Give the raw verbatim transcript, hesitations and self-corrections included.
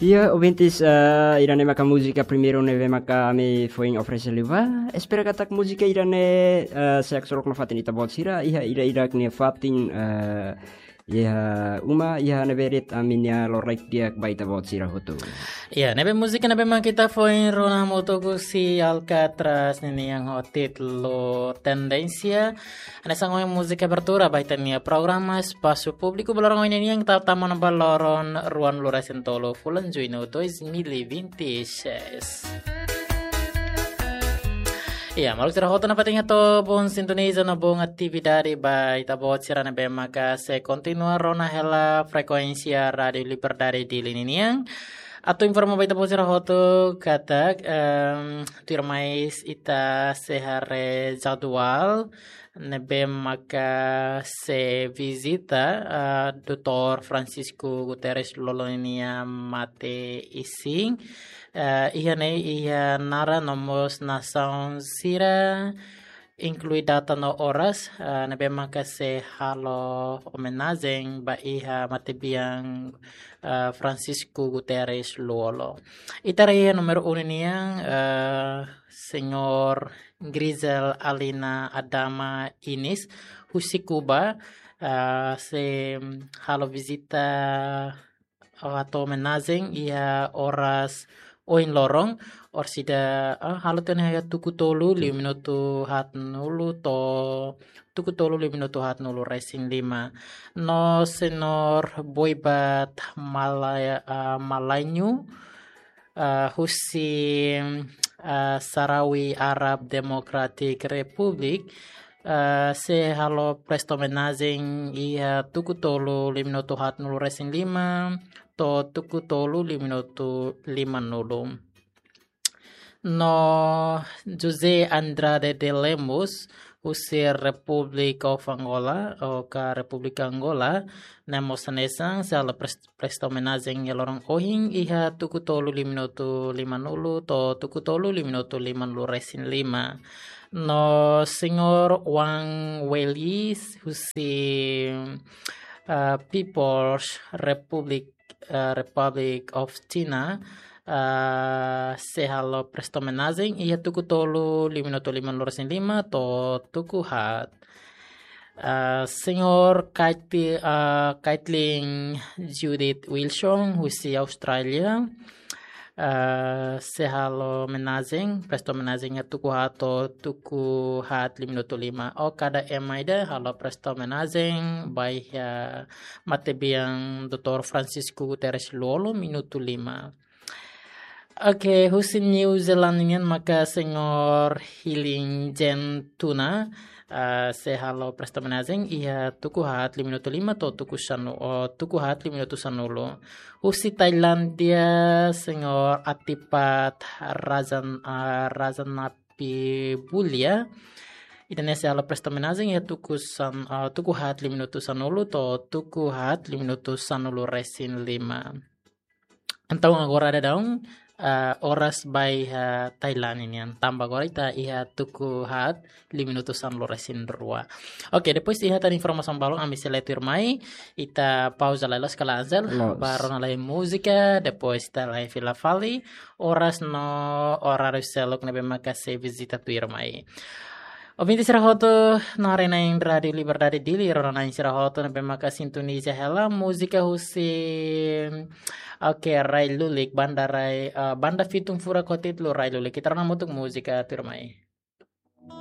Iha, ouvintes, ah, ida-ne'e maka múzika primeiru ne'ebé maka ami foin oferese liu ba. Espera katak múzika ida-ne'e, ah, sei haksolok nafatin ita-boot sira, iha ida-idak nia fatin, ah, iha uma, iha ne'ebé de'it ami-nia lorokraik di'ak ba ita-boot sira hotu. Iha, ne'ebé múzika ne'ebé maka ita foin rona hamutuk husi Alcatraz ninian ho títulu Tendénsia. Hanesan ohin múzika abertura ba ita-nia programa Espasu Públiku ba loron ohin ninian, ita tama ona ba loron ruanulu resin tolu fulan Juñu dois mil e vinte e seis. Iha, maluk sira hotu, nafatin hato'o boot sintoniza no boot atividade ba ita-boot sira ne'ebé maka sei kontinua rona hela frekuénsia Rádiu Liberdade Dili ninian. Atu informa ba ita-boot sira hotu katak, em, tuirmai ita sei haree jadwal ne'ebé maka sei vizita, ah, doutór Francisco Guterres Lú-Olo ninia mate-isin. Ah, iha ne'e iha naran no mós nasaun sira, inklui data no oras, ah, ne'ebé maka sei halo omenajen ba iha matebian, ah, Francisco Guterres Lú-Olo. Ita haree iha númeru unu nian, ah, Señór Grizel Alina Adama Inis, husi Kuba, ah, sei halo vizita hato'o omenajen iha oras ohin loron, orsida, ah, halo tiha ona iha tuku tolu liu minutu haatnulu to'o tuku tolu liu minutu haatnulu resin lima. No Señór Boibat Malaya-, ah, Malañu, ah, husi, ah, Sahrawi Arab Democratic Republic, ah, sei halo presta omenajen iha tuku tolu liu minutu haatnulu resin lima to'o tuku tolu liu minutu limanulu. No José Andrade de Lemos, husi Republic of Angola, ou ka Repúblika Angola, ne'e mós hanesan sei halo pres-, presta omenajen iha loron ohin iha tuku tolu liu minutu limanulu to'o tuku tolu liu minutu limanulu resin lima. No Señór Wang Weili husi, ah, People's Republic, ah, Republic of China, ah, sei halo presta omenajen iha tuku tolu liu minutu limanulu resin lima to'o tuku haat. Ah, Señór Kaiti-, ah, Kaitlyn Judith Wilson, husi Austrália, ah, sei halo omenajen, presta omenajen iha tuku haat to'o tuku haat liu minutu lima. Ou kada ema ida halo presta omenajen ba iha matebian doutór Francisco Guterres Lú-Olo minutu lima. Oke, husi New Zealand nian maka Señór Healing Jen Tuna, ah, sei halo presta omenajen iha tuku haat liu minutu lima to'o tuku sanu-, ou tuku haat liu minutu sanulu. Husi Tailandia, Señór Atipat Rajan-, ah, Rajanapibulya. Ida-ne'e sei halo presta omenajen iha tuku san-, ah, tuku haat liu minutu sanulu to'o tuku haat liu minutu sanulu resin lima. Entaun agora daudaun, ah, oras ba iha Tailandia nian. Tanba agora ita iha tuku haat liu minutu sanulu resin rua. Oke, depois iha tan informasaun balun ami sei lee tuirmai, ita pauza lalais ka lae, Ansel. Loos. Ba rona lai múzika, depois ita lai fila fali oras no oráriu seluk ne'ebé maka sei vizita tuirmai. Ouvinte sira hotu, no haree-na'in Rádiu Liberdade Dili, rona-na'in sira hotu ne'ebé maka sintoniza hela múzika husi, oke, Rai Lulik, banda Rai, eh, banda Fitung Furak ho títulu Rai Lulik. Ita rona hamutuk múzika tuirmai.